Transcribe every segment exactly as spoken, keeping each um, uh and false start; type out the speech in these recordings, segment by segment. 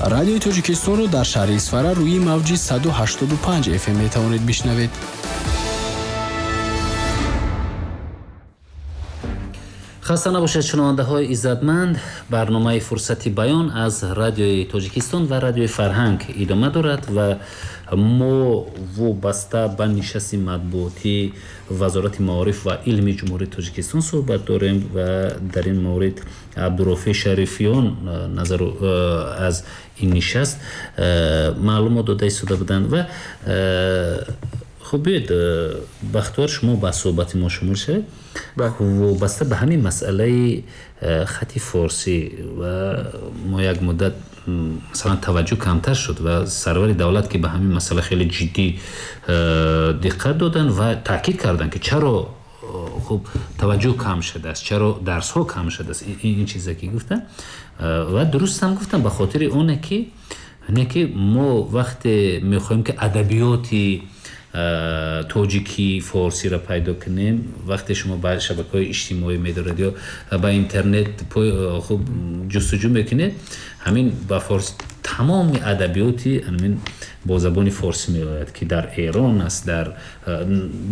Радиои Тоҷикистонро дар шаҳри Исфара рӯи мавҷи саду ҳаштоду панҷ эф эм метавонед бишнавед. Хаста набошед, шунавандаҳои иззатманд. Барномаи Фурсати баён аз Радиои Тоҷикистон ва Радиои Фарҳанг идома дорад ва мо вобаста ба нишасти матбуотии Вазорати маориф ва илми Ҷумҳурии Тоҷикистон суҳбат дорем ва дар ин маврид Абдурофеъ Шарифиён назару аз ин нишаст маълумот дода истода буданд ва хуб, биёед, Бахтиёр, шумо ба суҳбати мо шумул шавед. Вобаста ба ҳамин масъалаи хати форсӣ ва мо як муддат масалан таваҷҷӯҳ камтар шуд ва сарвари давлат ки ба ҳамин масъала хеле ҷиддӣ диққат доданд ва таъкид карданд, ки чаро хуб таваҷҷӯҳ кам шудааст, чаро дарсҳо кам шудааст, ин чизе ки гуфтанд ва дуруст ҳам гуфтанд, ба хотири оне ки не ки мо вақте мехоҳем ки адабиёти тоҷикӣ форсиро пайдо кунем, вақте шумо ба шабакаҳои иҷтимоӣ медоред ё ба интернет хуб ҷустуҷӯ мекунед, ҳамин ба форс тамоми адабиёти ҳамин бо забони форсӣ меояд, ки дар Эрон аст, дар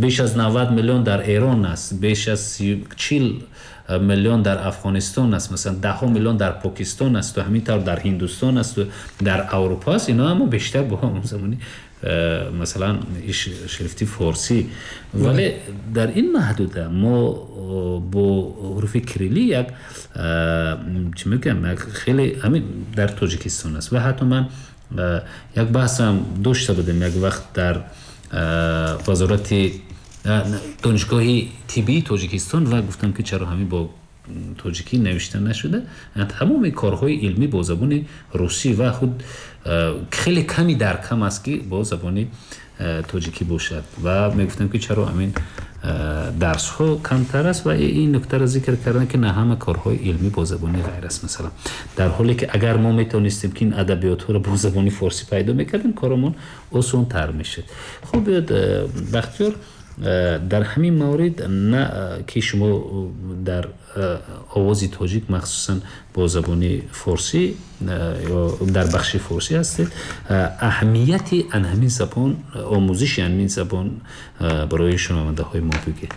беш аз навад миллион дар Эрон аст, беш аз чил миллион дар Афғонистон аст, масалан даҳҳо миллион дар Покистон аст ва ҳамин тавр дар Ҳиндустон аст ва дар Аврупо аст. Инҳо ҳама бештар бо ҳамон забони масалан шрифти форсӣ, вале дар ин маҳдуда мо бо ҳуруфи кириллӣ як чӣ мегӯям, як хеле ҳамин дар Тоҷикистон аст. Ва ҳатто ман як баҳсам дошта будем як вақт дар вазорати донишгоҳи тиббии Тоҷикистон ва гуфтам ки чаро ҳамин бо тоҷикӣ навишта нашуда, тамоми корҳои илмӣ бо забони русӣ ва худ хеле ками дар кам аст ки бо забони тоҷикӣ бошад. Ва мегуфтам ки чаро ҳамин дарсҳо камтар аст ва ин нуктаро зикр кардам ки на ҳама корҳои илмӣ бо забони ғайр аст, масалан дар ҳоле ки агар мо метавонистем ки ин адабиётҳоро бо забони форсӣ пайдо мекардем, коромон осонтар мешуд. Хуб, биёд, Бахтиёр, дар ҳамин маврид на ки шумо дар овози тоҷик махсусан бо забони форсӣ ё дар бахши форсӣ ҳастед, аҳамияти ан ҳамин забон, омӯзиши ҳамин забон барои шунавандаҳои мо бигӯед.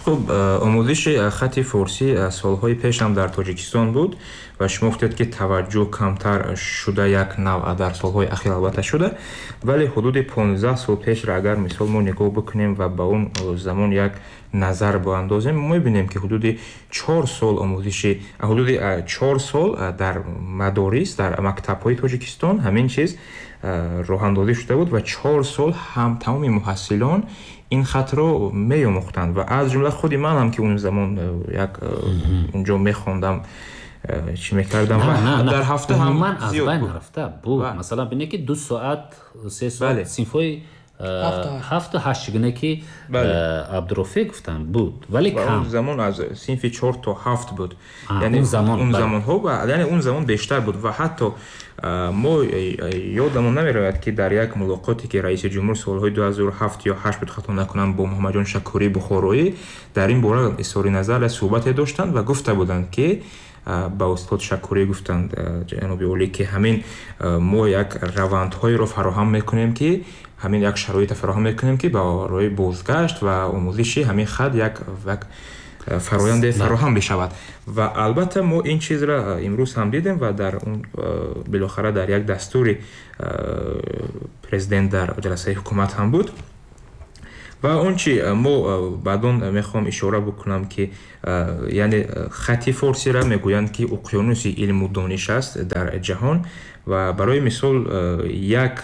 Хуб, омӯзиши хати форсӣ солҳои пеш ҳам дар Тоҷикистон буд ва шумо гуфтед ки таваҷҷӯҳ камтар шуда як навъ дар солҳои ахир албатта шуда, вале ҳудуди понздаҳ сол пешро агар мисол мо нигоҳ бикунем ва ба он замон як назар боандозем, мебинем ки ҳудуди чор сол омӯзиши ҳудуди чор сол дар мадорис, дар мактабҳои Тоҷикистон ҳамин чиз роҳандозӣ шуда буд ва чор сол ҳам тамоми муҳассилон ин хатро меомӯхтанд ва аз ҷумла худи ман ҳам ки он замон як унҷо мехондам, чӣ мекардам ва дар ҳафта ҳам аз байн рафта буд. Масалан бинед ки ду соат, се соат синфҳои ҳафту ҳашт чигуна ки Абдурофеъ гуфтанд буд, вале кам. Он замон аз синфи чор то ҳафт буд, яъне он замонҳо, яъне он замон бештар буд ва ҳатто мо ёдамон намеравад ки дар як мулоқоте ки раиси ҷумҳур солҳои ду ҳазору ҳафт ё ҳашт буд, хато накунам, бо Муҳаммадҷон Шакурӣ Бухороӣ дар ин бора изҳори назар суҳбате доштанд ва гуфта буданд ки ба устод Шакурӣ гуфтанд ҷаноби олӣ ки ҳамин мо як равандҳоеро фароҳам мекунем, ки ҳамин як шароите фароҳам мекунем ки барои бозгашт ва омӯзиши ҳамин хат як як фароянде фароҳам бишавад. Ва албатта мо ин чизро имрӯз ҳам дидем ва дар он билохара дар як дастури президент дар ҷаласаи ҳукумат ҳам буд. Ва он чи мо баъдон мехоҳам ишора бикунам ки яъне хати форсиро мегӯянд ки уқёнуси илму дониш аст дар ҷаҳон ва барои мисол як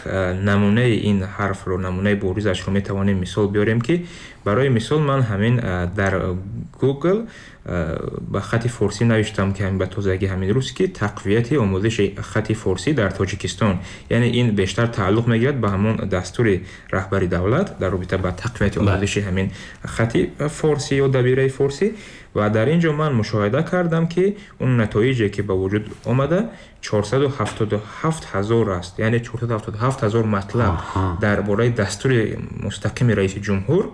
намунаи ин ҳарфро, намунаи боризашро метавонем мисол биёрем ки барои мисол ман ҳамин дар Google ба хати форсӣ навиштам ки ҳамин ба тозагӣ ҳамин рӯз ки тақвияти омӯзиши хати форсӣ дар Тоҷикистон, яъне ин бештар тааллуқ мегирад ба ҳамон дастури раҳбари давлат дар робита ба тақвияти омӯзиши ҳамин хати форсӣ ё дабираи форсӣ. Ва дар ин ҷо ман мушоҳида кардам ки он натоиҷе ки ба вуҷуд омада чорсаду ҳафтоду ҳафт ҳазор аст, яъне чорсаду ҳафтоду ҳафт ҳазор матлаб дар бораи дастури мустақими раиси ҷумҳур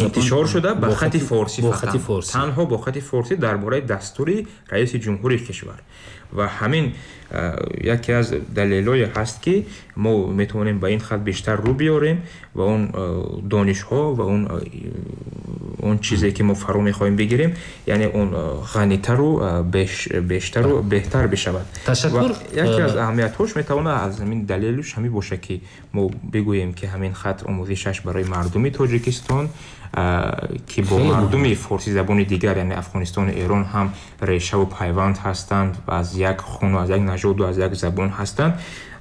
интишор шуда ба хати форсӣ, танҳо бо хати форсӣ дар бораи дастури раиси ҷумҳури кишвар. Ва ҳамин яке аз далелҳое ҳаст, ки мо метавонем ба ин хат бештар рӯ биёрем ва он донишҳо ва он он чизе ки мо фаро мехоҳем бигирем, яъне он ғанитару бештару беҳтар бишавад. Ташаккур. Яке аз аҳамиятҳош метавонад аз ҳамин далелш ҳамин бошад, ки мо бигӯем, ки ҳамин хат омӯзишаш барои мардуми Тоҷикистон, ки бо мардуми форсизабони дигар, яъне Афғонистону Эрон ҳам решаву пайванд ҳастанд ва аз як хуну аз як нажоду аз як забон ҳастанд,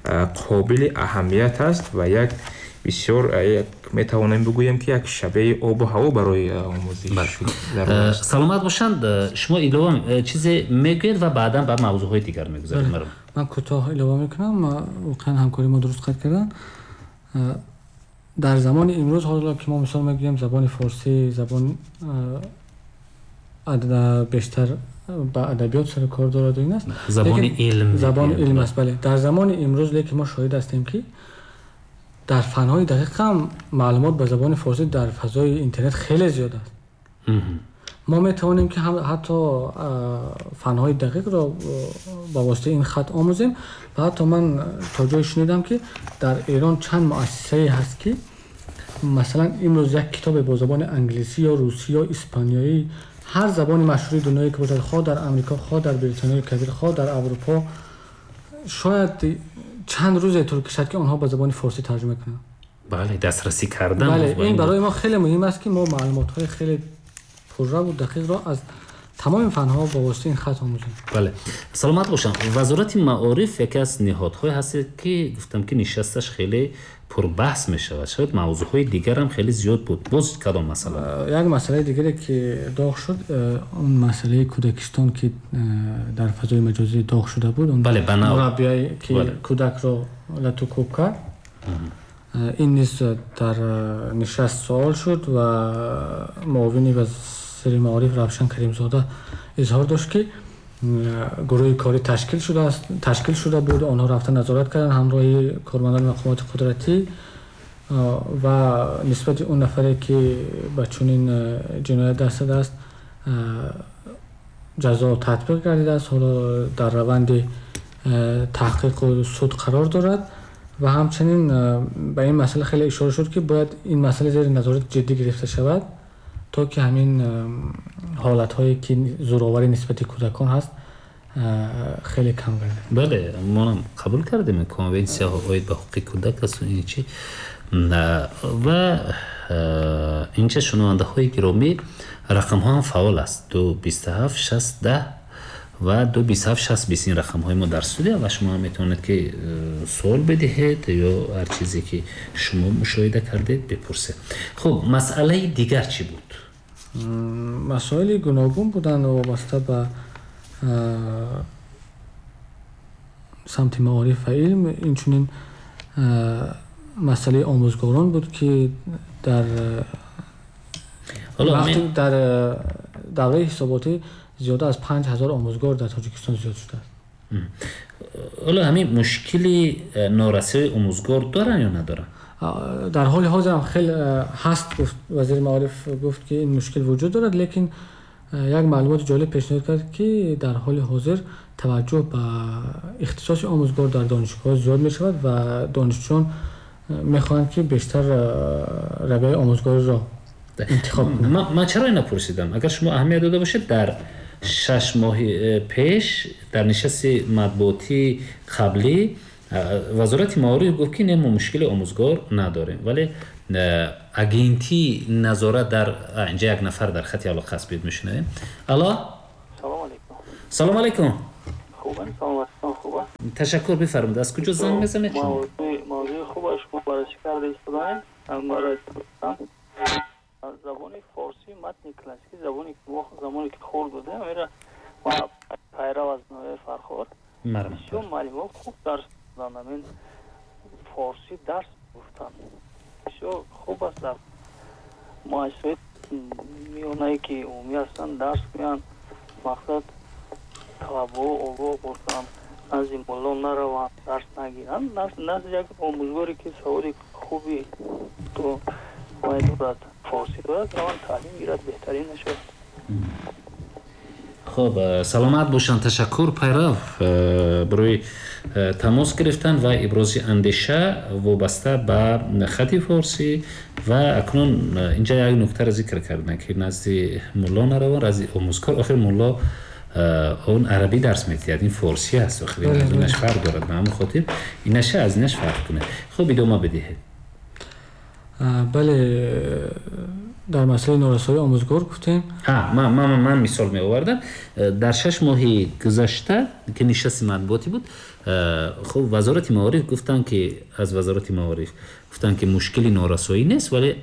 қобили аҳамият аст ва як бисёр метавонем бигӯем, ки як шабеҳи обу ҳаво барои омӯзиш. Саломат бошанд. Шумо илова чизе мегӯед ва баъдан ба мавзӯъҳои дигар мегузарем. Ман кӯтоҳ илова мекунам. Воқеан ҳамкори мо дуруст қайд карданд. Дар замони имрӯз ҳоло ки мо мисол мегӯем, забони форсӣ забон бештар ба адабиёт сару кор дорад ин аст, забони илм, забони илм аст. Бале, дар замони имрӯз лекин мо шоҳид ҳастем, ки дар фанҳои дақиқ ҳам маълумот ба забони форсӣ дар фазои интернет хеле зиёд аст. Мо метавонем, ки ҳатто фанҳои дақиқро ба воситаи ин хат омӯзем. Ва ҳатто ман то ҷое шунидам, ки дар Эрон чанд муассисае ҳаст, ки масалан имрӯз як китобе бо забони англисӣ ё русӣ ё испаниёӣ, ҳар забони машҳури дунёе ки бошад, хоҳ дар Амрико, хоҳ дар Британияи Кабир, хоҳ дар Аврупо, шояд чанд рӯзе тӯл кашад, ки онҳо ба забони форсӣ тарҷума кунанд. Бале, дастрасӣ кардан. Бале, ин барои мо хеле муҳим аст, ки мо маълумотҳои хеле пурра ва дақиқро аз тамоми фанҳо ба воситаи ин хат омӯзем. Бале, саломат бошам. Вазорати маориф яке аз ниҳодҳое ҳаст, ки гуфтам, ки нишасташ хеле пурбаҳс мешавад. Шояд мавзӯъҳои дигарам хеле зиёд буд. Боз кадом масъала? Як масъалаи дигаре, ки доғ шуд, он масъалаи кӯдакистон, ки дар фазои маҷозӣ доғ шуда буд, он мураббие, ки кӯдакро лату кӯб кард, ин низ дар нишаст суол шуд ва муовини вазири маориф Равшан Каримзода изҳор дошт, ки гурӯҳи корӣ ташкил шудааст, ташкил шуда буд. Онҳо рафта назорат карданд ҳамроҳи кормандони мақомоти қудратӣ ва нисбати он нафаре, ки ба чунин ҷиноят даст задааст, ҷазо татбиқ гардидааст. Ҳоло дар раванди таҳқиқу суд қарор дорад. Ва ҳамчунин ба ин масъала хеле ишора шуд, ки бояд ин масъала зери назорати ҷиддӣ гирифта шавад, то ки ҳамин ҳолатҳое, ки зӯроварӣ нисбати кӯдакон ҳаст, хеле кам гардад. Бале, монам қабул кардем конвенсия оид ба ҳуқуқи кӯдак аст ин чи. Ва инҷа, шунавандаҳои гиромӣ, рақамҳо ҳам фаъол аст: ду бисту ҳафт шаст даҳ ва ду бисту ҳафт шаст бист. Ин рақамҳои мо дар студия ва шумо ҳам метавонед, ки суол бидиҳед ё ҳар чизе, ки шумо мушоҳида кардед, бипурсед. Хуб, масъалаи дигар чӣ буд? Масоили гуногун буданд вобаста ба самти маориф ва илм. Инчунин масъалаи омӯзгорон буд, ки дар дар давраи ҳисоботӣ зиёда аз панҷ ҳазор омӯзгор дар Тоҷикистон зиёд шудааст. Ҳоло ҳамин мушкили норасоии омӯзгор доранд ё надоранд? Дар ҳоли ҳозир ҳам хеле ҳаст, гуфт вазири маориф, гуфт, ки ин мушкил вуҷуд дорад, лекин як маълумоти ҷолиб пешниҳод кард, ки дар ҳоли ҳозир таваҷҷӯҳ ба ихтисоси омӯзгор дар донишгоҳ зиёд мешавад ва донишҷӯён мехоҳанд, ки бештар равияи омӯзгориро интихоб кунанд. Ман чаро ина пурсидам? Агар шумо аҳамият дода бошед, дар шаш моҳи пеш дар нишасти матбуотии қаблӣ вазорати маориф гуфт, ки не, мо мушкили омӯзгор надорем, вале агентии назорат дар инҷа як нафар дар хати алоқа аст, бид мешунавем. Алло, салом алейкум. Салом алейкум. Хубам, саломатитон хуб аст? Ташаккур. Бифармуд, аз куҷо занг мезанед шумо? Мавзӯи хуб аст, шумо баррасӣ карда истодаем. Забони форсӣ матни классикӣ, забоне ки мо замоне ки хурд будем, амира пайрав аз ноҳияи Фархор, бисёр муаллимҳо хуб дарс доданд, ҳамин форсӣ дарс гуфтанд, бисёр хуб аст. Дар муассисаҳои миёнае, ки умумӣ ҳастанд, дарс гӯянд, мақсад талабаҳо огоҳ бошанд, назди мулло нараванд, дарс нагиранд, назди як омӯзгоре, ки саводи хуби то вай дорад, форсӣ дорад, раванд таълим гирад, беҳтарин нашавад. Хуб, саломат бошанд. Ташаккур, Пайрав, барои тамос гирифтан ва ибрози андеша вобаста ба хати форсӣ. Ва акнун инҷа як нуктаро зикр карданд, ки назди мулло нараванд, назди омӯзгор. Охир мулло он арабӣ дарс медиҳад, ин форсӣ аст, охир инаш фарқ дорад. Ба ҳамин хотир инаша аз инаш фарқ кунад. Хуб, идома бидиҳед. Бале, дар масъалаи норасоии омӯзгор гуфтем. Ман, ман, ман мисол меовардам. Дар шаш моҳи гузашта, ки нишасти матбуотӣ буд, хуб, Вазорати маориф гуфтанд, ки аз Вазорати маориф гуфтанд, ки мушкили норасоӣ нест, вале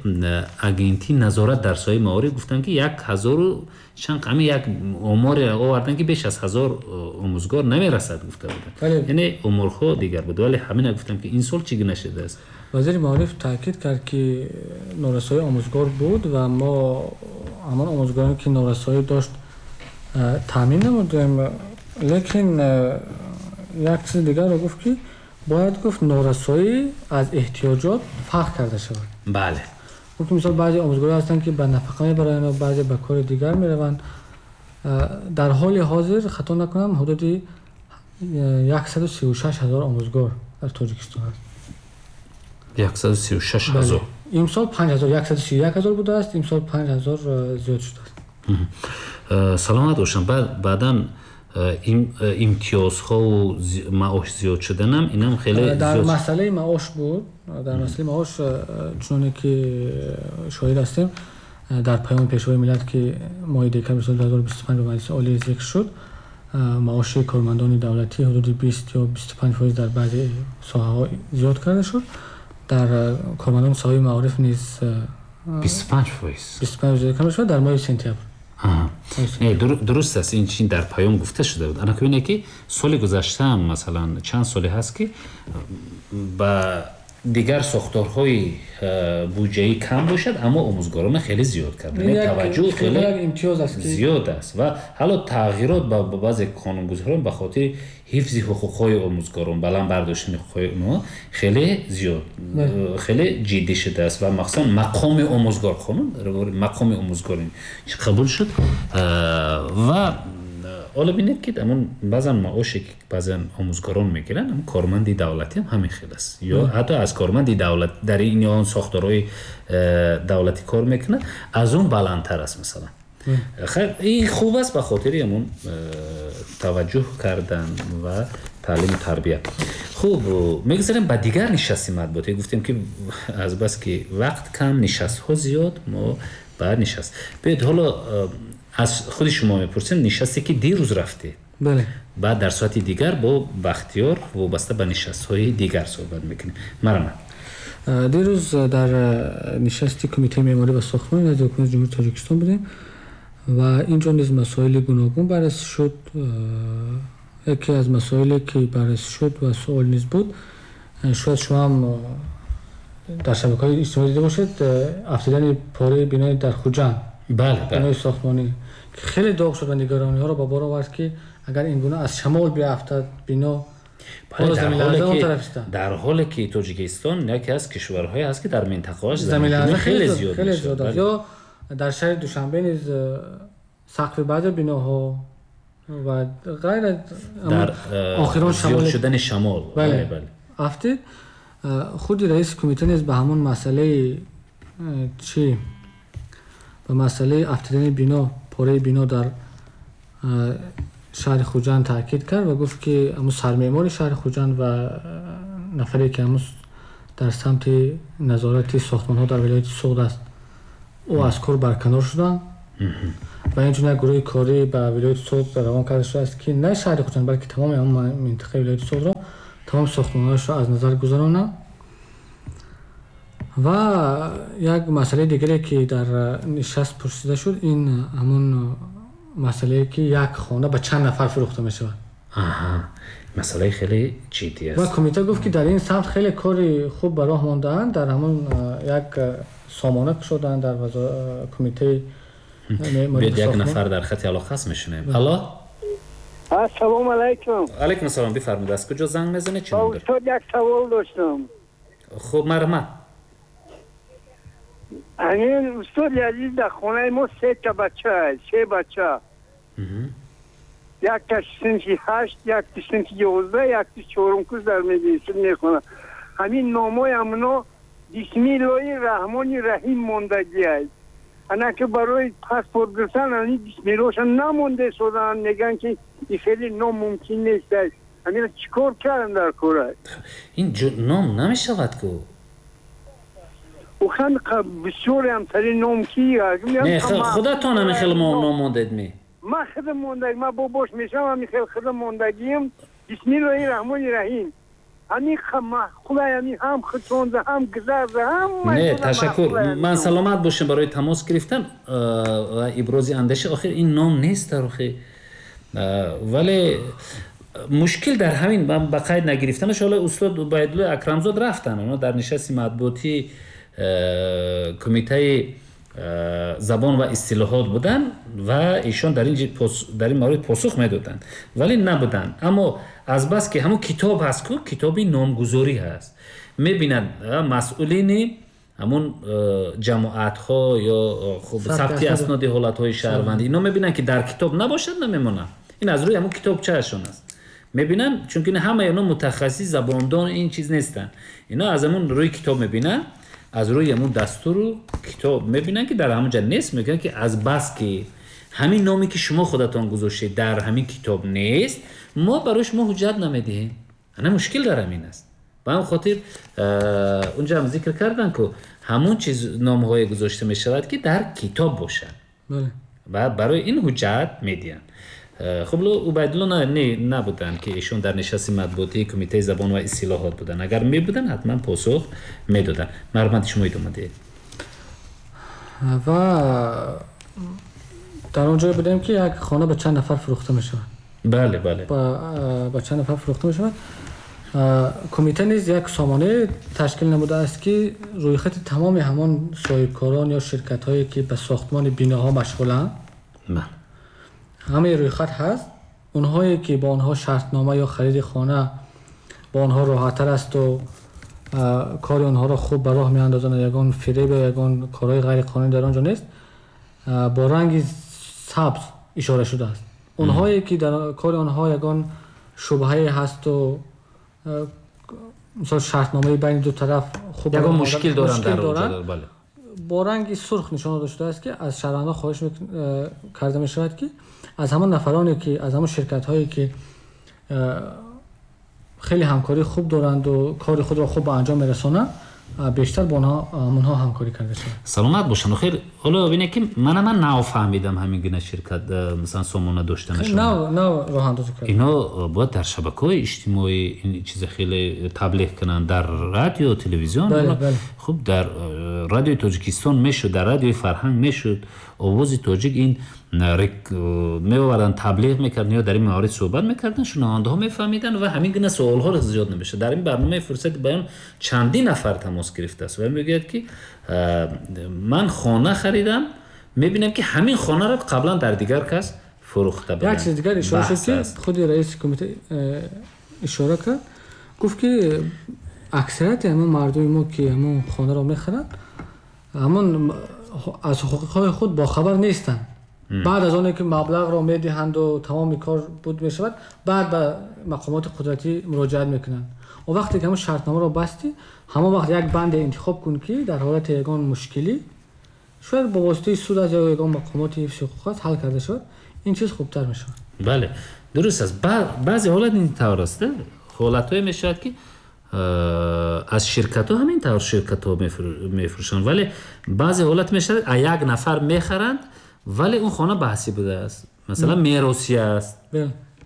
агентии назорат дар соҳаи маориф гуфтанд, ки як ҳазору чанд, ҳамин як оморе оварданд, ки беш аз ҳазор омӯзгор намерасад, гуфта буданд. Яъне оморҳо дигар буд, вале ҳамина гуфтам, ки ин сол чӣ гуна шудааст. Вазири маориф таъкид кард, ки норасоии омӯзгор буд ва мо ҳамон омӯзгороне, ки норасоӣ дошт, таъмин намудем. Лекин як чизи дигарро гуфт, ки бояд гуфт норасоӣ аз эҳтиёҷот фарқ карда шавад. Бале. Гуфт, мисол, баъзе омӯзгорон ҳастанд, ки ба нафақа мебаранд ва баъзе ба кори дигар мераванд. Дар ҳоли ҳозир, хато накунам, ҳудуди яксаду сию шаш ҳазор омӯзгор дар Тоҷикистон аст. Яксаду сию шаш ҳазор. Имсол панҷ ҳазор, яксаду сию як ҳазор будааст, имсол панҷ ҳазор зиёд шудааст. Саломат бошам. Баъдан имтиёзҳову маош зиёд шуданам, инам хеле дар масъалаи маош буд. Дар масъалаи маош, чуноне ки шоҳид ҳастем, дар паёми Пешвои миллат, ки моҳи декабри соли ду ҳазору бисту панҷ ба Маҷлиси Олӣ зикр шуд, маоши кормандони давлатӣ ҳудуди бист ё бисту панҷ фоиз дар баъзе соҳаҳо зиёд карда шуд. Дар кормандони соҳаи маориф низ бисту панҷ фоиз бисту панҷ зиёд карда шуд дар моҳи сентябр. Не, дуруст аст, ин чин дар паём гуфта шуда буд. Ана бинед, ки соли гузаштаам, масалан, чанд соле ҳаст, ки ба дигар сохторҳои буҷаӣ кам бошад, аммо омӯзгорона хеле зиёд кард. Таваҷҷӯҳ хеле зиёд аст ва ҳало тағйирот ба баъзе қонунгузорон ба хотири ҳифзи ҳуқуқҳои омӯзгорон, баланд бардоштани ҳуқуқҳои онҳо хеле зиёд, хеле ҷиддӣ шудааст ва махсусан мақоми омӯзгор, қонун мақоми омӯзгор қабул шуд. Ва ҳоло бинед, ки ҳамон баъзан маоше, ки баъзан омӯзгорон мегиранд, ҳамон корманди давлатӣ ҳам ҳамин хел аст, ё ҳатто аз корманди давлат дар ин ё он сохторҳои давлатӣ кор мекунад, аз он баландтар аст, масалан. Хайр, ин хуб аст ба хотири ҳамон таваҷҷӯҳ кардан ва таълиму тарбия. Хуб, мегузарем ба дигар нишасти матбуотӣ. Гуфтем, ки азбаски вақт кам, нишастҳо зиёд, мо ба нишаст. Биёед, ҳоло аз худи шумо мепурсем, нишасте, ки дирӯз рафтед. Бале. Баъд дар соати дигар бо Бахтиёр вобаста ба нишастҳои дигар суҳбат мекунем. Марҳамат. Дирӯз дар нишасти Кумитаи меъморӣ ва сохтмон назди Ҳукумати Ҷумҳурии Тоҷикистон будем ва инҷо низ масоили гуногун баррасӣ шуд. Яке аз масоиле, ки баррасӣ шуд ва суол низ буд, шояд шумо ҳам дар шабакаҳои иҷтимоӣ дида бошед, афтидани пораи бинои дар Хуҷанд. Бале, бале. Бинои сохтмонӣ, ки хеле доғ шуд ва нигарониҳоро ба бор овард, ки агар ин гуна аз шамол биафтад бино, дар ҳоле ки Тоҷикистон яке аз кишварҳое аст, ки дар минтақааш заминларза хеле зиёд хеле зиёд аст. Ё дар шаҳри Душанбе низ сақфи баъзе биноҳо ва ғайра дар охирон зиёд шудани шамол, бале, бале, афтид. Худи раиси кумита низ ба ҳамон масъалаи чӣ, ба масъалаи афтидани бино, пораи бино дар шаҳри Хуҷанд таъкид кард ва гуфт, ки ҳамун сармеъмори шаҳри Хуҷанд ва нафаре, ки ҳамун дар самти назорати сохтмонҳо дар вилояти Суғд аст, ӯ аз кор барканор шуданд ва инчунин як гурӯҳи корӣ ба вилояти Суғд равон карда шудааст, ки на шаҳри Хуҷанд, балки тамоми ҳамон минтақаи вилояти Суғдро, тамоми сохтмонҳояшро аз назар гузаронанд. Ва як масъалаи дигаре, ки дар нишаст пурсида шуд, ин ҳамон масъалае, ки як хона ба чанд нафар фурӯхта мешавад. Аҳа, масъалаи хеле ҷиддӣ аст. Ва кумита гуфт, ки дар ин самт хеле кори хуб ба роҳ мондаанд, дар ҳамон як сомона кушодаанд дар кумитаи меъморӣ. Биёед, як нафар дар хати алоқа аст, мешунавем. Алло, Ассалому алайкум. Алайкум ассалом, бифармоед, аз куҷо занг мезанед, чӣ ном доред? Устод, як савол доштам. Хуб, марҳамат. Ҳамин, устоди азиз, дар хонаи мо се та бача, се бача. Якташ синфи ҳашт, якташ синфи ёздаҳ, якташ чорум курс дар мединститут мехонад. Ҳамин номҳои ҳамуно Бисмиллоҳи Раҳмони Раҳим мондагиай. Ана ки барои паспорт гирифтан ҳамин бисмиллоҳша намонда истоданд, мегӯянд ки ин хеле ном мумкин нест. Ҳаминро чӣ кор кардам дар кора? Ин ном намешавад ку? Охир бисёре ҳамтари ном ки не, худатон ҳамин хел ном мондед ми? Ман худам мондаг, ман бобош мешавам, ҳамин хел худам мондагием. Бисмиллоҳи Раҳмони Раҳим. Ҳамин маъқулай, ҳамин ҳам худшонда, ҳам гузарда, ҳам не, ташаккур. Ман саломат бошем барои тамос гирифтан ва ибрози андеша. Охир ин ном нест дар охир, вале мушкил дар ҳамин ба қайд нагирифтанаш. Ҳоло устод Убайдулло Акрамзод рафтанд, онҳо дар нишасти матбуотии кумитаи забон ва истилоҳот буданд ва эшон дар ин маврид посух медоданд, вале набуданд. Аммо азбаски ҳамун китоб ҳаст ку, китоби номгузорӣ ҳаст, мебинанд масъулини ҳамун ҷамоатҳо ё сабти асноди ҳолатҳои шаҳрвандӣ, ино мебинанд ки дар китоб набошад, намемонанд. Ин аз рӯи ҳамун китобчаашон аст. Мебинанд, чунки ҳамаи оно мутахассис забондон ин чиз нестанд. Ино аз ҳамун рӯи китоб мебинанд, аз рӯи ҳамун дастуру китоб мебинанд ки дар ҳамон ҷа нест. Мегӯянд ки аз бас ки ҳамин номе ки шумо худатон гузоштед дар ҳамин китоб нест, мо барои шумо ҳуҷҷат намедиҳем. Ана мушкил дар ҳамин аст. Ба ҳамин хотир унҷа ҳам зикр карданд ку ҳамон чиз номҳое гузошта мешавад ки дар китоб бошад ва барои ин ҳуҷҷат медиҳанд. Хуб, Убайдулло не набуданд ки эшон дар нишасти матбуотии кумитаи забон ва истилоҳот буданд. Агар мебуданд, ҳатман посух медоданд. Марҳамат, шумо идома диҳед. Ва дар он ҷое будем ки як хона ба чанд нафар фурӯхта мешавад. Бале, бале, ба чанд нафар фурӯхта мешавад. Кумита низ як сомонае ташкил намудааст ки рӯйхати тамоми ҳамон соҳибкорон ё ширкатҳое ки ба сохтмони биноҳо машғуланд, ҳамаи рӯйхат ҳаст. Онҳое ки бо онҳо шартнома ё хариди хона бо онҳо роҳаттар асту кори онҳоро хуб ба роҳ меандозанд, ягон фиреб ё ягон корҳои ғайриқонунӣ дар он ҷо нест, бо ранги сабз ишора шудааст. Онҳое ки дар кори онҳо ягон шубҳае ҳасту мисол шартномаи байни ду тараф хуб ягон мушкил доранд дар он ҷо, бале, бо ранги сурх нишон дода шудааст ки аз шаҳрвандон хоҳиш карда мешавад ки аз ҳамон нафароне ки аз ҳамон ширкатҳое ки хеле ҳамкории хуб доранду кори худро хуб ба анҷом мерасонанд, бештар бо онҳо ҳамкорӣ карда шавад. Саломат бошанд. Охир ҳоло бинед ки мана ман нафаҳмидам ҳамин гуна ширкат масалан сомона доштанашон. Нав нав роҳандозӣ карда. Ино бояд дар шабакаҳои иҷтимоӣ ин чиза хеле таблиғ кунанд, дар радио, телевизион. Хуб, дар радиои Тоҷикистон мешуд, дар радиои Фарҳанг мешуд, Овози Тоҷик ин меоварданд, таблиғ мекарданд ё дар ин маврид суҳбат мекарданд, шунавандаҳо мефаҳмиданд ва ҳамин гуна суолҳо зиёд намешуд. Дар ин барномаи Фурсати баён чандин нафар тамос гирифтааст ва мегӯяд ки ман хона харидам, мебинам ки ҳамин хонаро қаблан дар дигар кас фурӯхта буданд. Як чиз дигар ишора шуд ки худи раиси кумита ишора кард, гуфт ки аксарияти ҳамон мардуми мо ки ҳамон хонаро мехаранд, ҳамон аз ҳуқуқҳои худ бохабар нестанд. Баъд аз оне ки маблағро медиҳанду тамоми кор буд мешавад, баъд ба мақомоти қудратӣ муроҷиат мекунанд. Он вақте ки ҳамон шартномаро бастӣ, ҳамон вақт як банде интихоб кун ки дар ҳолати ягон мушкилӣ шояд бо воситаи суд аст ё ягон мақомоти ҳифзи ҳуқуқ аст ҳал карда шавад, ин чиз хубтар мешавад. Бале, дуруст аст. Баъзе ҳолат ин тавр аст. Ҳолатҳое мешавад ки аз ширкатҳо ҳамин тавр ширкатҳо мефурӯшанд, вале баъзе ҳолат мешавад а як нафар мехаранд, вале он хона баҳсӣ будааст, масалан меросӣ аст,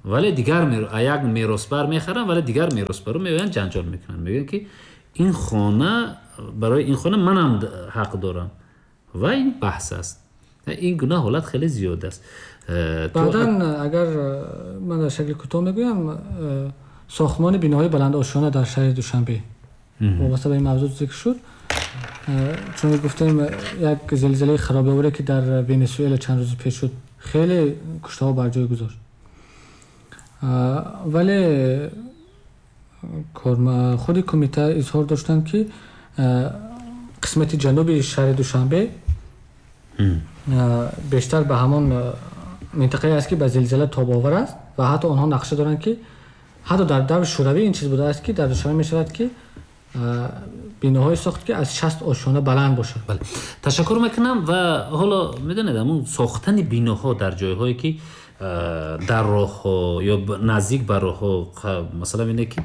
вале дигар як меросбар мехаранд, вале дигар меросбару меоянд ҷанҷол мекунанд, мегӯянд ки ин хона барои ин хона манам ҳақ дорам ва ин баҳс аст. Ин гуна ҳолат хеле зиёд аст. Баъдан агар ман дар шакли кӯтоҳ мегӯям, сохтмони биноҳои баландошёна дар шаҳри Душанбе вобаста ба ин мавзӯъ зикр шуд. Чун гуфтем як зилзилаи харобиоваре ки дар Венесуэла чанд рӯз пеш шуд, хеле куштаҳо бар ҷой гузошт. Вале худи кумита изҳор доштанд ки қисмати ҷануби шаҳри Душанбе бештар ба ҳамон минтақае аст ки ба зилзила тобовар аст. Ва ҳатто онҳо нақша доранд, ки ҳатто дар даври Шӯравӣ ин чиз будааст, ки дар Душанбе мешавад, ки биноҳое сохт, ки аз шаст ошёна баланд бошад. Бале, ташаккур мекунам. Ва ҳоло медонед, ҳамун сохтани биноҳо дар ҷойҳое, ки дар роҳҳо ё наздик ба роҳҳо, масалан ине ки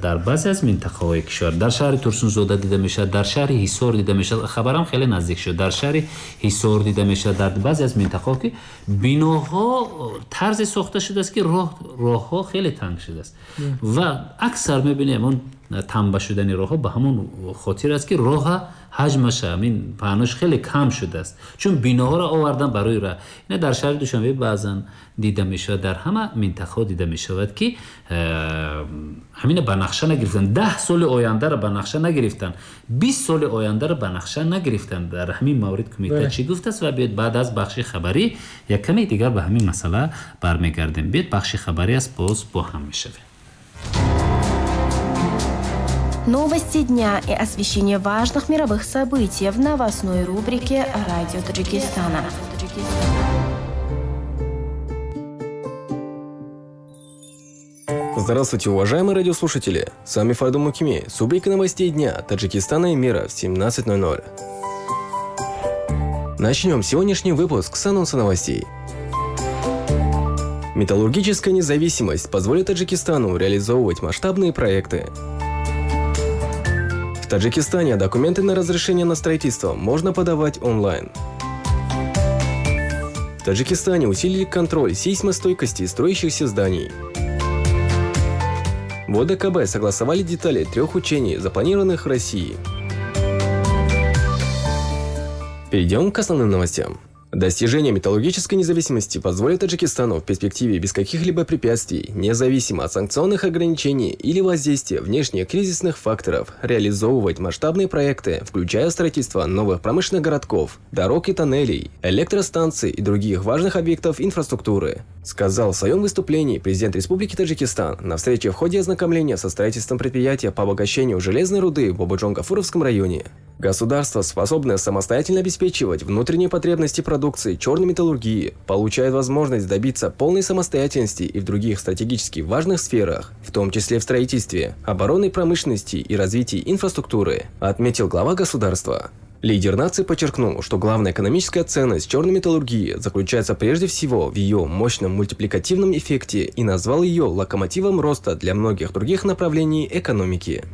дар баъзе аз минтақаҳои кишвар, дар шаҳри Турсунзода дида мешавад, дар шаҳри Ҳисор дида мешавад, хабарам хеле наздик шуд, дар шаҳри Ҳисор дида мешавад, дар баъзе аз минтақаҳо, ки биноҳо тарзе сохта шудааст, ки роҳҳо хеле танг шудааст ва аксар мебинем он танба шудани роҳҳо ба ҳамон хотир аст, ки роҳа ҳаҷмаша, ҳамин паҳнош хеле кам шудааст, чун биноҳоро овардан барои роҳ. Ина дар шаҳри Душанбе баъзан дида мешавад, дар ҳама минтақаҳо дида мешавад, ки ҳамина ба нақша нагирифтан, даҳ соли ояндаро ба нақша нагирифтан, бист соли ояндаро ба нақша нагирифтан. Дар ҳамин маврид кумита чӣ гуфтааст? Ва биёед баъд аз бахши хабарӣ як каме дигар ба ҳамин масъала бармегардем. Биёед бахши хабарӣ аст, боз бо ҳам мешавем. Новости дня и освещение важных мировых событий в новостной рубрике «Радио Таджикистана». Здравствуйте, уважаемые радиослушатели! С вами Фаридун Мукими с рубрикой новостей дня Таджикистана и мира в семнадцать ноль ноль. Начнем сегодняшний выпуск с анонса новостей. Металлургическая независимость позволит Таджикистану реализовывать масштабные проекты. В Таджикистане документы на разрешение на строительство можно подавать онлайн. В Таджикистане усилили контроль сейсмостойкости строящихся зданий. В О Д К Б согласовали детали трех учений, запланированных в России. Перейдем к основным новостям. Достижение металлургической независимости позволит Таджикистану в перспективе без каких-либо препятствий, независимо от санкционных ограничений или воздействия внешних кризисных факторов, реализовывать масштабные проекты, включая строительство новых промышленных городков, дорог и тоннелей, электростанций и других важных объектов инфраструктуры, сказал в своем выступлении президент Республики Таджикистан на встрече в ходе ознакомления со строительством предприятия по обогащению железной руды в Бободжон-Гафуровском районе. Государство, способное самостоятельно обеспечивать внутренние потребности продукции черной металлургии, получает возможность добиться полной самостоятельности и в других стратегически важных сферах, в том числе в строительстве, оборонной промышленности и развитии инфраструктуры, отметил глава государства. Лидер нации подчеркнул, что главная экономическая ценность черной металлургии заключается прежде всего в ее мощном мультипликативном эффекте и назвал ее локомотивом роста для многих других направлений экономики.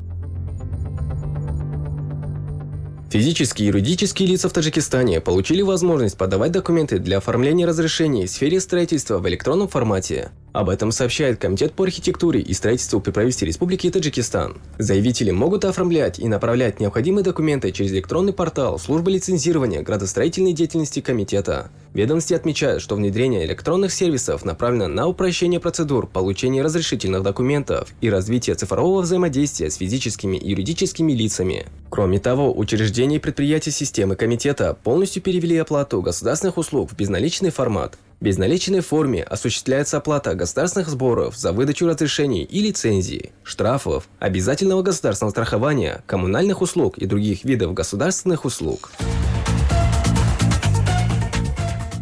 Физические и юридические лица в Таджикистане получили возможность подавать документы для оформления разрешений в сфере строительства в электронном формате. Об этом сообщает Комитет по архитектуре и строительству при правительстве Республики Таджикистан. Заявители могут оформлять и направлять необходимые документы через электронный портал службы лицензирования градостроительной деятельности комитета. Ведомости отмечают, что внедрение электронных сервисов направлено на упрощение процедур получения разрешительных документов и развитие цифрового взаимодействия с физическими и юридическими лицами. Кроме того, учреждения и предприятия системы комитета полностью перевели оплату государственных услуг в безналичный формат. В безналичной форме осуществляется оплата государственных сборов за выдачу разрешений и лицензий, штрафов, обязательного государственного страхования, коммунальных услуг и других видов государственных услуг.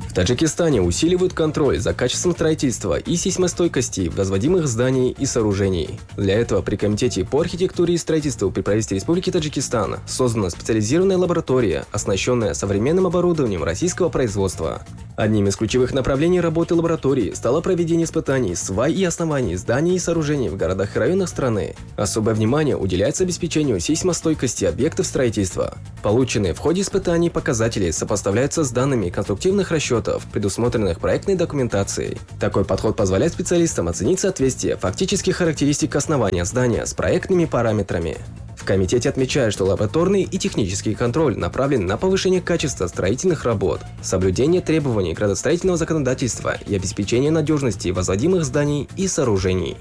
В Таджикистане усиливают контроль за качеством строительства и сейсмостойкости возводимых зданий и сооружений. Для этого при Комитете по архитектуре и строительству при правительстве Республики Таджикистан создана специализированная лаборатория, оснащенная современным оборудованием российского производства. Одним из ключевых направлений работы лаборатории стало проведение испытаний свай и оснований зданий и сооружений в городах и районах страны. Особое внимание уделяется обеспечению сейсмостойкости объектов строительства. Полученные в ходе испытаний показатели сопоставляются с данными конструктивных расчетов, предусмотренных проектной документацией. Такой подход позволяет специалистам оценить соответствие фактических характеристик основания здания с проектными параметрами. В комитете отмечают, что лабораторный и технический контроль направлен на повышение качества строительных работ, соблюдение требований градостроительного законодательства и обеспечение надежности возводимых зданий и сооружений.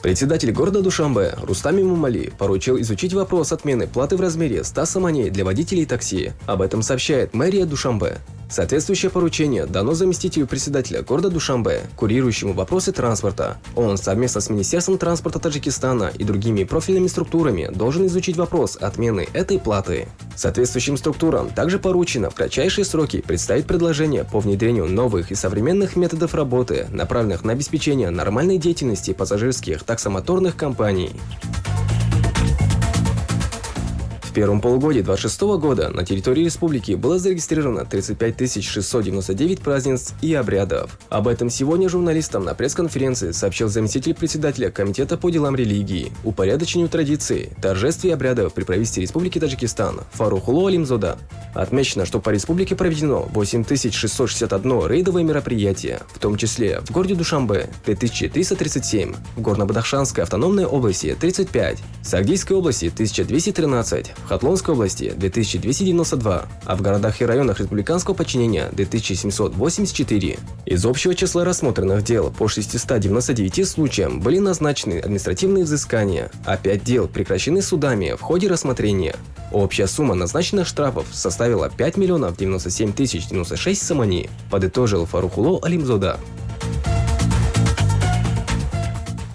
Председатель города Душанбе Рустам Эмомали поручил изучить вопрос отмены платы в размере ста сомоней для водителей такси. Об этом сообщает мэрия Душанбе. Соответствующее поручение дано заместителю председателя города Душанбе, курирующему вопросы транспорта. Он совместно с Министерством транспорта Таджикистана и другими профильными структурами должен изучить вопрос отмены этой платы. Соответствующим структурам также поручено в кратчайшие сроки представить предложение по внедрению новых и современных методов работы, направленных на обеспечение нормальной деятельности пассажирских таксомоторных компаний. В первом полугодии две тысячи двадцать шестого года на территории республики было зарегистрировано тридцать пять тысяч шестьсот девяносто девять празднеств и обрядов. Об этом сегодня журналистам на пресс-конференции сообщил заместитель председателя Комитета по делам религии, упорядочению традиций, торжеств и обрядов при правительстве Республики Таджикистан Фаррухулло Алимзода. Отмечено, что по республике проведено восемь тысяч шестьсот шестьдесят одно рейдовое мероприятие, в том числе в городе Душанбе три тысячи триста тридцать семь, в Горно-Бадахшанской автономной области тридцать пять, в Согдийской области тысяча двести тринадцать, в Хатлонской области две тысячи двести девяносто два, а в городах и районах республиканского подчинения две тысячи семьсот восемьдесят четыре. Из общего числа рассмотренных дел по шестистам девяноста девяти случаям были назначены административные взыскания, а пять дел прекращены судами в ходе рассмотрения. Общая сумма назначенных штрафов составила пять миллионов девяносто семь тысяч девяносто шесть сомони, подытожил Фаррухулло Алимзода.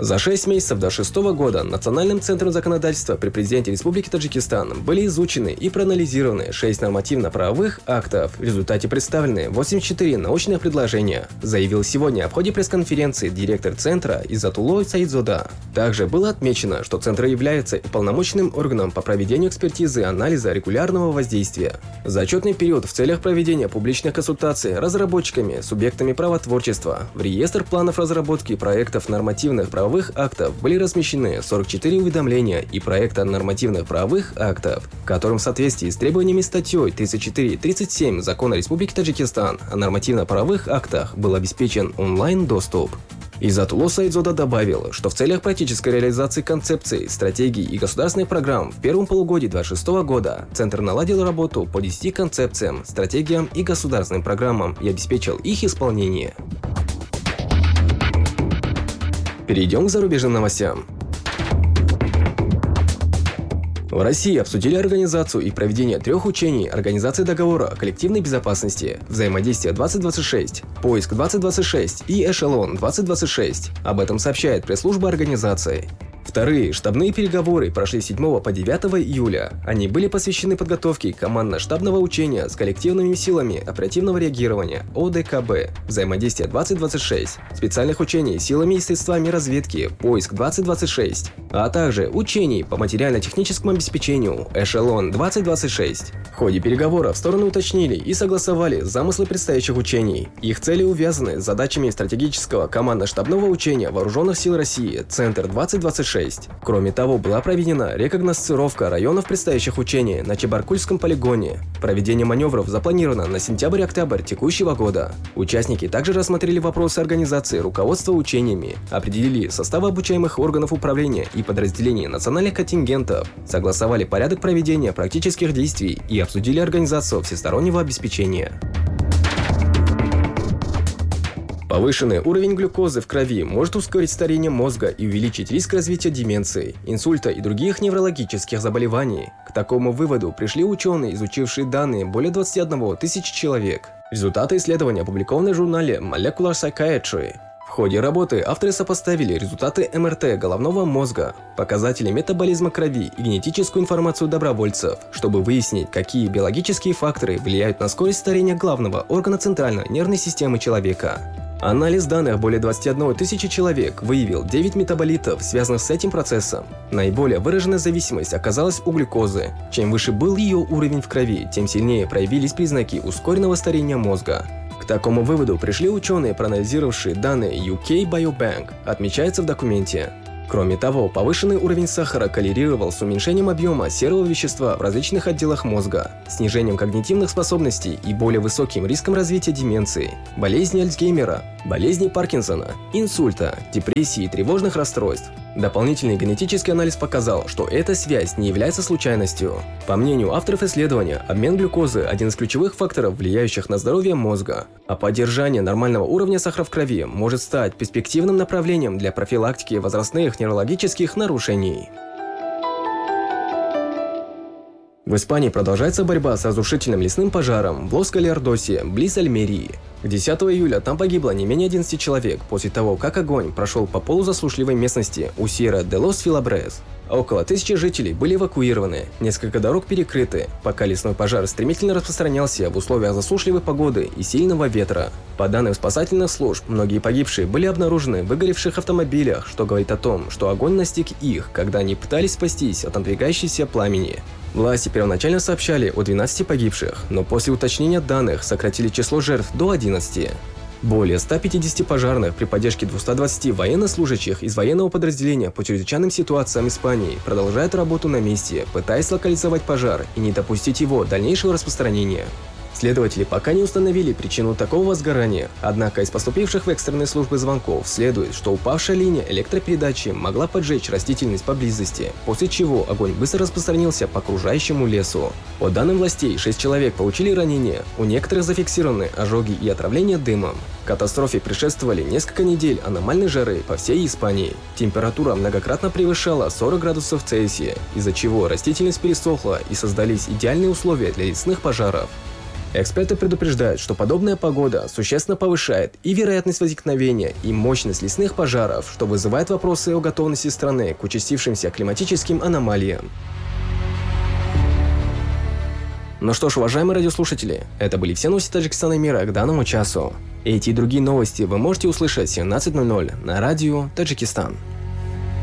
За шесть месяцев до шестого года Национальным центром законодательства при президенте Республики Таджикистан были изучены и проанализированы шесть нормативно-правовых актов. В результате представлены восемьдесят четыре научных предложения, заявил сегодня в ходе пресс-конференции директор центра Иззатулло Саидзода. Также было отмечено, что центр является уполномоченным органом по проведению экспертизы и анализа регулярного воздействия. За отчетный период в целях проведения публичных консультаций разработчиками, субъектами правотворчества в реестр планов разработки проектов нормативных правовых актов были размещены сорок четыре уведомления и проекта нормативных правовых актов, которым в соответствии с требованиями статьей тридцать четыре тридцать семь Закона Республики Таджикистан о нормативно-правовых актах был обеспечен онлайн-доступ. Иззатулло Саидзода добавил, что в целях практической реализации концепций, стратегий и государственных программ в первом полугодии две тысячи двадцать шестого года Центр наладил работу по десяти концепциям, стратегиям и государственным программам и обеспечил их исполнение. Перейдем к зарубежным новостям. В России обсудили организацию и проведение трех учений Организации договора о коллективной безопасности, взаимодействие двадцать двадцать шесть, Поиск двадцать двадцать шесть и Эшелон двадцать двадцать шесть. Об этом сообщает пресс-служба организации. Вторые штабные переговоры прошли с седьмого по девятого июля. Они были посвящены подготовке командно-штабного учения с коллективными силами оперативного реагирования О Д К Б, взаимодействие двадцать двадцать шесть, специальных учений силами и средствами разведки Поиск двадцать двадцать шесть, а также учений по материально-техническому обеспечению Эшелон двадцать двадцать шесть. В ходе переговоров стороны уточнили и согласовали замыслы предстоящих учений. Их цели увязаны с задачами стратегического командно-штабного учения Вооруженных сил России Центр двадцать двадцать шесть. Кроме того, была проведена рекогносцировка районов предстоящих учений на Чебаркульском полигоне. Проведение маневров запланировано на сентябрь-октябрь текущего года. Участники также рассмотрели вопросы организации руководства учениями, определили составы обучаемых органов управления и подразделений национальных контингентов, согласовали порядок проведения практических действий и обсудили организацию всестороннего обеспечения. Повышенный уровень глюкозы в крови может ускорить старение мозга и увеличить риск развития деменции, инсульта и других неврологических заболеваний. К такому выводу пришли ученые, изучившие данные более двадцати одного тысячи человек. Результаты исследования опубликованы в журнале Molecular Psychiatry. В ходе работы авторы сопоставили результаты эм эр тэ головного мозга, показатели метаболизма крови и генетическую информацию добровольцев, чтобы выяснить, какие биологические факторы влияют на скорость старения главного органа центральной нервной системы человека. Анализ данных более двадцати одной тысячи человек выявил девять метаболитов, связанных с этим процессом. Наиболее выраженная зависимость оказалась у глюкозы. Чем выше был ее уровень в крови, тем сильнее проявились признаки ускоренного старения мозга. К такому выводу пришли ученые, проанализировавшие данные ю кей Biobank, отмечается в документе. Кроме того, повышенный уровень сахара коррелировал с уменьшением объема серого вещества в различных отделах мозга, снижением когнитивных способностей и более высоким риском развития деменции, болезни Альцгеймера, болезни Паркинсона, инсульта, депрессии и тревожных расстройств. Дополнительный генетический анализ показал, что эта связь не является случайностью. По мнению авторов исследования, обмен глюкозы – один из ключевых факторов, влияющих на здоровье мозга, а поддержание нормального уровня сахара в крови может стать перспективным направлением для профилактики возрастных неврологических нарушений. В Испании продолжается борьба с разрушительным лесным пожаром в Лос-Галердосе, близ Альмерии. десятого июля там погибло не менее одиннадцати человек после того, как огонь прошел по полузасушливой местности у Сьерра де лос Филабрес. Около тысячи жителей были эвакуированы, несколько дорог перекрыты, пока лесной пожар стремительно распространялся в условиях засушливой погоды и сильного ветра. По данным спасательных служб, многие погибшие были обнаружены в выгоревших автомобилях, что говорит о том, что огонь настиг их, когда они пытались спастись от надвигающейся пламени. Власти первоначально сообщали о двенадцати погибших, но после уточнения данных сократили число жертв до одиннадцати. Более ста пятидесяти пожарных при поддержке двухсот двадцати военнослужащих из военного подразделения по чрезвычайным ситуациям Испании продолжают работу на месте, пытаясь локализовать пожар и не допустить его дальнейшего распространения. Следователи пока не установили причину такого возгорания, однако из поступивших в экстренные службы звонков следует, что упавшая линия электропередачи могла поджечь растительность поблизости, после чего огонь быстро распространился по окружающему лесу. По данным властей, шесть человек получили ранения, у некоторых зафиксированы ожоги и отравление дымом. Катастрофе предшествовали несколько недель аномальной жары по всей Испании. Температура многократно превышала сорок градусов Цельсия, из-за чего растительность пересохла и создались идеальные условия для лесных пожаров. Эксперты предупреждают, что подобная погода существенно повышает и вероятность возникновения, и мощность лесных пожаров, что вызывает вопросы о готовности страны к участившимся климатическим аномалиям. Ну что ж, уважаемые радиослушатели, это были все новости Таджикистана и мира к данному часу. Эти и другие новости вы можете услышать в семнадцать ноль ноль на радио Таджикистан.